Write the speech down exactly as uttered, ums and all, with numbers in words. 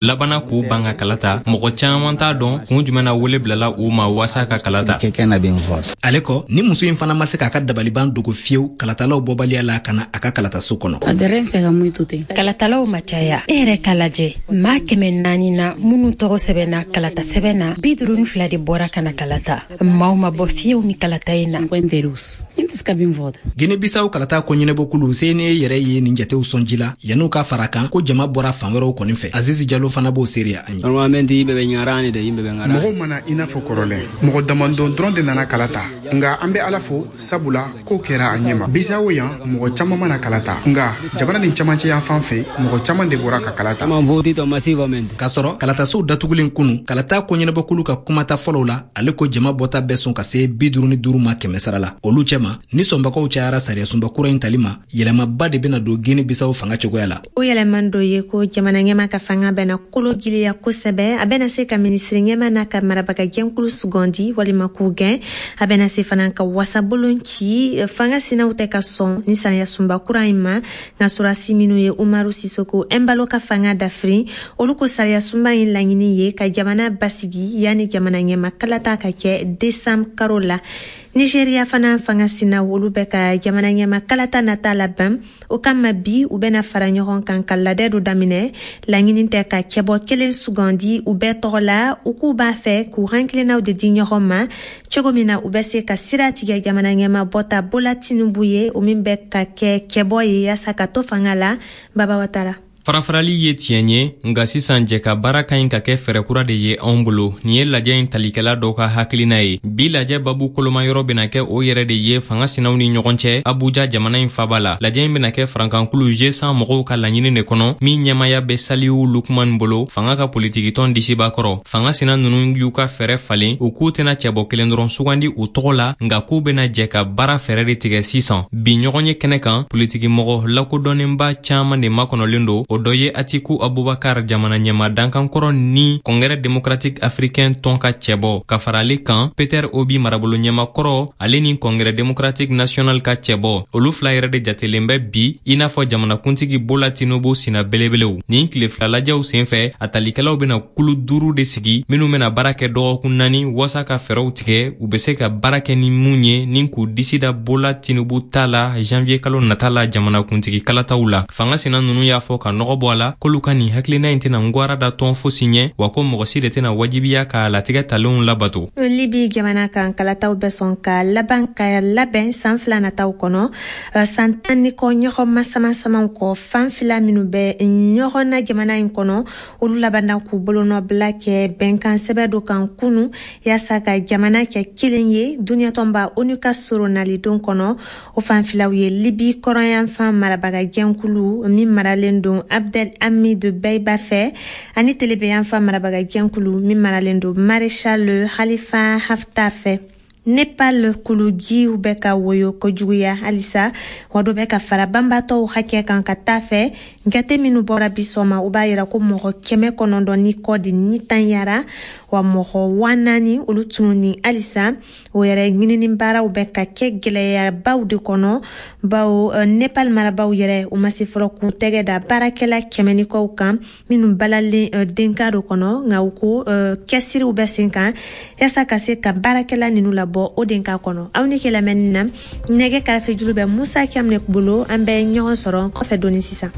Labanna k'u ban ka kala ta. Mɔgɔ caman t'a dɔn kun jumɛn na wele bilala u ma waasa ka kala ta. Ale kɔ, ni muso in fana ma se k'a ka dabaliban dogo fiyewu kalatalaw bɔbaliya la ka na a ka kalataso kɔnɔ. Kalatalaw ma caya. E yɛrɛ k'a lajɛ, maa kɛmɛ naani na minnu tɔgɔ sɛbɛnna kalata sɛbɛn na, bi duuru ni fila de bɔra ka na kalata. Maaw ma bɔ fiyewu ni kalata in na. Gine Bisaw kalata ko ɲɛnabɔkulu C N E yɛrɛ ye nin jatew sɔnji la yan'u ka fara kan ko jama bɔra fan wɛrɛw kɔni fɛ. Azizi Jalo fana b'o seereya an ye. Mɔgɔw mana i n'a fɔ kɔrɔlen, mɔgɔ damadɔn dɔrɔn de nana kala ta, nka an bɛ Ala fo, sabula ko kɛra a ɲɛma. Bisawo yan, mɔgɔ caman mana kala ta, nka jamana nin camancɛ yan fan fɛ, mɔgɔ caman de bɔra ka kala ta. K'a sɔrɔ kalatasow datugulen kunu, kalata ko ɲɛnabɔkulu ka kumata fɔlɔw la, ale ko jama bɔta bɛ sɔn ka se bi duuru ni duuru ma kɛmɛ sara la. Olu cɛma ni sɔnbagaw cayara sariyasunba kura in tali ma, yɛlɛmaba de bɛna don Gine Bisaw fanga cogoya la. O yɛlɛman dɔ ye ko jamana ɲɛma ka fanga bɛna kolo giliya kosɛbɛ. A bɛna se ka minisiri ɲɛma n'a ka marabaga jɛnkulu sugandi walima k'u gɛn. A bɛna se fana ka wasabolon ci. Fanga sinaw tɛ ka sɔn ni sariyasunba kura in ma, nka sɔrɔdasi minnu ye Umaru Sisoko Ɛnbalo ka fanga dafiri, olu ko sariyasunba in laɲini ye ka jamana basigi yanni jamana ɲɛma kalata ka kɛ desanburu karo la. Nigeriya fana, fanga sinaw olu bɛ ka jamana ɲɛma kalata nata labɛn. O kama, bi u bɛna fara ɲɔgɔn kan ka ladɛ dɔ daminɛ. Laɲini tɛ ka cɛbɔ kelen sugandi u bɛɛ tɔgɔ la. U k'u b'a fɛ k'u hakilinaw de di ɲɔgɔn ma cogo min na u bɛ se ka sira tigɛ jamana ɲɛma bɔta Bola Tinubu ye, o min bɛ ka kɛ cɛbɔ ye yaasa ka to fanga la. Baba Watara. Farafarali ye tiɲɛ ye, nka sisan jɛ ka baara ka ɲi ka kɛ fɛɛrɛ kura de ye anw bolo. Nin ye lajɛ in talikɛla dɔw ka hakilina ye. Bi lajɛ babu koloma yɔrɔ bena kɛ o yɛrɛ de ye fanga sinaw ni ɲɔgɔn cɛ Abuja, jamana in faba la. Lajɛ in bena kɛ farankankulu G cent mɔgɔw ka laɲini de kɔnɔ, min ɲɛmaya bɛ Saliu Lukman bolo, fanga ka politikitɔn disiba kɔrɔ. Fanga sina nunu y'u ka fɛɛrɛ falen. U k'u tɛna cɛbɔ kelen dɔrɔn sugandi u tɔgɔ la, nka k'u bena jɛ ka baara fɛɛrɛ de tigɛ sisan. Bi ɲɔgɔn ye kɛnɛ kan, politikimɔgɔ lakodɔnnenba caaman de makɔnɔlen don. O dɔ ye Atiku Abubakar, jamana ɲɛma dankankɔrɔ ni Congrès démocratique africain tɔn ka cɛbɔ, ka fara ale kan Peter Obi, marabolo ɲɛmakɔrɔ, ale ni Congrès démocratique national ka cɛbɔ. Olu fila yɛrɛ de jatelen bɛ bi i n'a fɔ jamanakuntigi Bola Tinubu sina belebelew. Nin tile fila lajɛw sen fɛ, a talikɛlaw bena kulu duuru de sigi minw bena baara kɛ dɔgɔkun naani waasa ka fɛɛrɛw tigɛ u be se ka baara kɛ ni mun ye ni k'u disi da Bola Tinubu ta la janvier kalo nata la jamanakuntigi kalataw la. Fanga sina nunu y'a fɔ ka nɔgɔ bɔ a la k'olu ka nin hakilina in tɛna ngwara da tɔn fosi ɲɛ, wa ko mɔgɔ si de tɛna wajibiya k'a latigɛ talenw labato. Libi jamana kan, kalataw bɛ sɔn ka laban ka labɛn san fila nataw kɔnɔ. San tan ni kɔ ɲɔgɔn masamasamaw kɔ, fan fila minnu bɛ ɲɔgɔn na jamana in kɔnɔ, olu labanna k'u bolonɔbila kɛ bɛnkan sɛbɛ dɔ kan kunu yaasa ka jamana kɛ kelen ye duniɲatɔnba ONU ka soronalidon kɔnɔ. O fan filaw ye Libi kɔrɔnyanfan marabaga jɛnkulu min maralen don Abdel Hamid Beiba fɛ, ani telebeyanfan marabaga jɛnkulu min maralen don Maréchal Khalifa Haftar fɛ. Nepal, kulujiw bɛ ka woyo kojuguya halisa, wa dɔ bɛ ka fara banbatɔw hakɛ kan ka taa fɛ. Jate minnu bɔra bi sɔgɔma, o b'a yira ko mɔgɔ kɛmɛ kɔnɔntɔn ni kɔ de ni tanyara, wa mɔgɔ wa naani olu tununi halisa. O yɛrɛ ɲinini baaraw bɛ ka kɛ gwɛlɛyabaw de kɔnɔ, bawo Nepal marabaw yɛrɛ, u ma se fɔlɔ k'u tɛgɛ da baarakɛla kɛmɛ ni kɔw kan minnu balalen denka dɔ kɔnɔ. Nka u ko cɛsiriw bɛ sen kan yaasa ka se ka baarakɛla ninu labɔ o denka kɔnɔ. Aw ni ke lamɛnni na, nɛgɛ karafe juru bɛ Musa Kɛmɛ bolo. An bɛ ɲɔgɔn sɔrɔ kɔfɛ dɔɔni sisan.